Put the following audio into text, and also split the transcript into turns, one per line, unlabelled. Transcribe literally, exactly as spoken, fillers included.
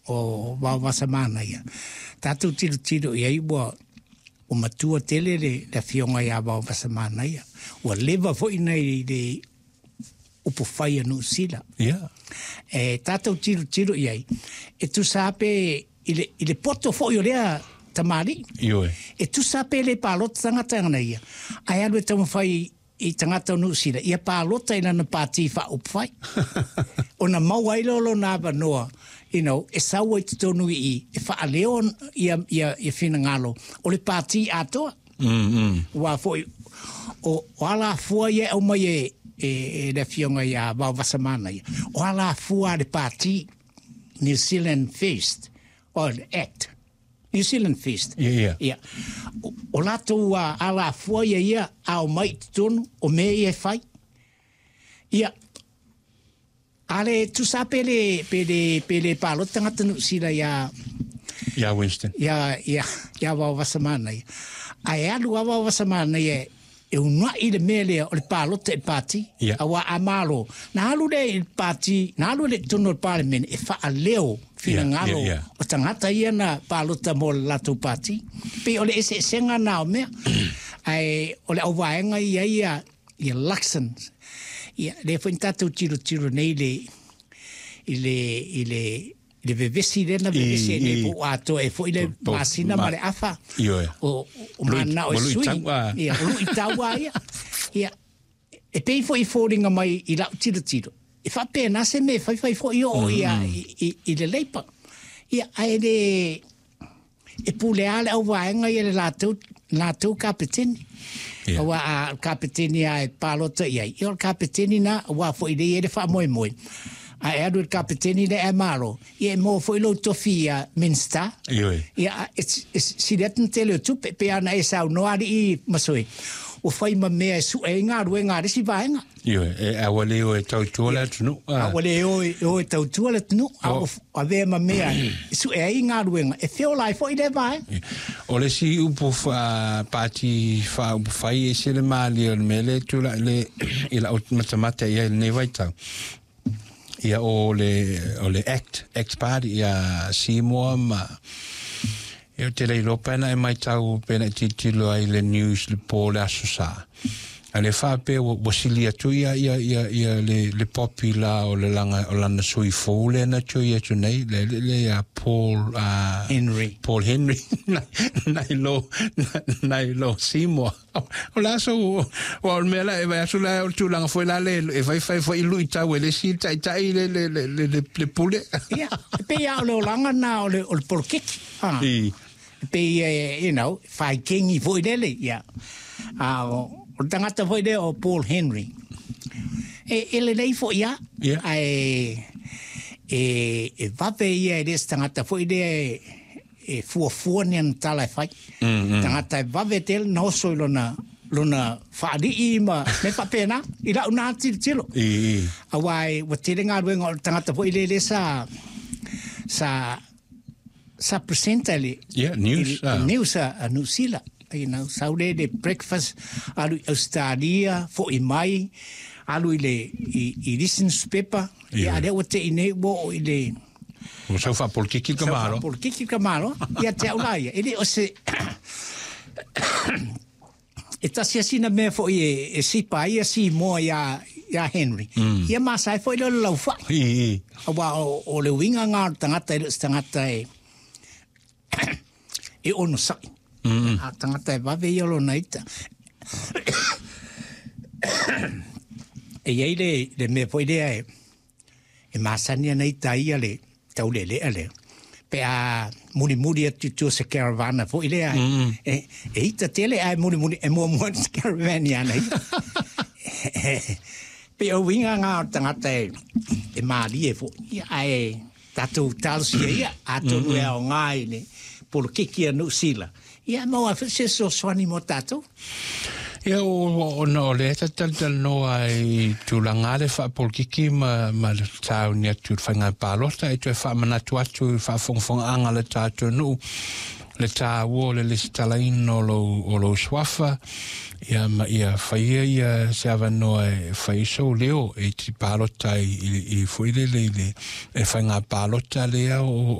o Vaovasamanaia, tatou tilotilo i ai ua ua matua tele le le afioga ia Vaovasamanaia, ua leva foi ona i le upufai a Niu Sila.
Ia.
E tatou tilotilo i ai, e tusa pe i le, i le poto foi o lea tamalii.
Ioe.
E tusa pe le palota tagata ana ia, ae alu e taumafai i tagata o Niu Sila ia palota i lana pati faaupufai ona maua ai lea o lona avanoa, you know, e sau ai totonu i i e faaleo ia, ia, ia finagalo o le pati atoa.
Mm, mm.
Aua foi o, o alafua ia e aumai e, e, e le afioga ia Vaovasamanaia, o alafua a le pati New Zealand First, o le Act New Zealand First.
Ia, ia.
Ia. O, o latou uh, alafua ia ia a omai i totonu o mea ia e fai. Ia, a le tusa pe le, pe le, pe le palota tagata Niu Sila ia
Ia Winston.
Ia, ia, ia Vaovasamanaia. Ae alu lava Vaovasamanaia e uunai le mea lea o le palota i le pati.
Ia.
Aua a malo, na alu lea i le pati, na alu lea i totonu o le Palemene e faaleo finagalo
Ia, ia, ia.
o tagata ia na palota mo le latou pati. Pei o le eseesega na o mea. Ae o le auvaega ia ia, ia Luxon. Ia, lea foi na tatou tilotilo nei i le, i le, i le, i le vevesi lea na vevesi ai nei po o atoa ai foi le masina ma le afa o, o mananao e sui. Ia, o luitau lava ia. Ia, e pei foi i foliga mai i lau tilotilo, e faapena se mea e faifai foi oo ia i, i, i le Labour. Ia, ae le, e pule lava le auvaega ia le latou, latou kapeteni.
Ia.
Aua a o le kapeteni lava e palota i ai, ia o le kapeteni lena, aua foi lea e i ai le faamoemoe. A e alu i le kapeteni lea ae malo, ia e maua foi lou tofi ia Minista.
Ioe.
Ia, e, e sili atu le tele o tupe, pei lava ona e saunoa alii Masoe, ua fai ma mea e sue ai galuega a le isi vaega.
Ioe, e, a ua le o e tautua le atunuu.
A ua le o e, o e tautua le atunuu, a ua avea ma mea e sue ai galuega, e feola ai foi lea vaega.
O le isi upu pati faaupufai e ese le malie o le mea lea e tulai le i lau matamata i ai i lenei vaitau. Ia o le o le Act, Act Party ia Seymour ma ia ou te le iloa pe ana e maitau pe ana e tilotilo ai i le news le po le Aso Sa. A le faapea ua, ua sili atu ia ia ia ia le le popi la o le langa o lana sui fou lea na tui atu nei le le le ia Paul uh,
Henry.
Paul Henry nai lo nai lo Seymour. O le aso ua o le mea la e vaai atu la o le tulaga foi la le e faifai foi i luitau e le isi taitai le le le le le, le pule.
Ia, e pei lava o le olaga lena o le o le poloketi. Ah.
I.
E pei e, you know, fai kengi foi lele, ia. A o, o le tagata foi lea o Paul Henry. E, e lelei foi lava.
Ia.
Ae e, e vave ia e le se tagata foi lea e, e fuafua ni ana tala e fai.
Mm, mm.
Tagata e vave tele na oso i lona lona faalii ma mea faapena i lau na tilotilo.
I, i.
Aua e ua tele galuega o le tagata foi lele sa sa sa presenter le
Yeah, news,
i, i
ah.
news a, a New Zealand. You know, sau le le breakfast alu i Australia, foi mai, alu i le i, i le isi newspaper.
Ia.
Ia, a lea ua tei nei ua oo i le
Ua sau faapolokiki le tamaloa.
Sau faapolokiki le tamaloa. Ia te au la ia. E le o se e tasi lava sina mea foi e, e sipa ai ia Simoa iā, iā Henry.
Mm.
Ia masa ai foi lea o le laufai.
I, i.
Aua o, o le uiga lena o le tagata e le o se tagata e e onosai.
Mm.
A tagata e vave ia lona ita. E i ai le, le mea foi lea e, e masani ana ita ia le taulelea lea. Pe a mulimuli atu i tua o se caravana foi lea,
Mm.
e, e ita tele ae mulimuli, e muamua atu se caravan i ana ita. Pei o uiga ngā o le tagata e, e mālie foi. Ia, ae tatou talosia ia, atonu e aoga i le polokiki a Niu Sila. Ia, maua ai foi se fesoasoani mo tatou.
Ia, ona o lea ta talatalanoa i tulaga le faapolokiki ma, ma le tauni atu i le faiga palota e toe faamanatu atu i le faafogafogaaga a le tatou nuu le taua o le lesitalaina o lou, o lou suafa ia ma ia faia ia se avanoa e fai ai sou leo e te palota ai i, i foi lele i le e faiga palota lea o,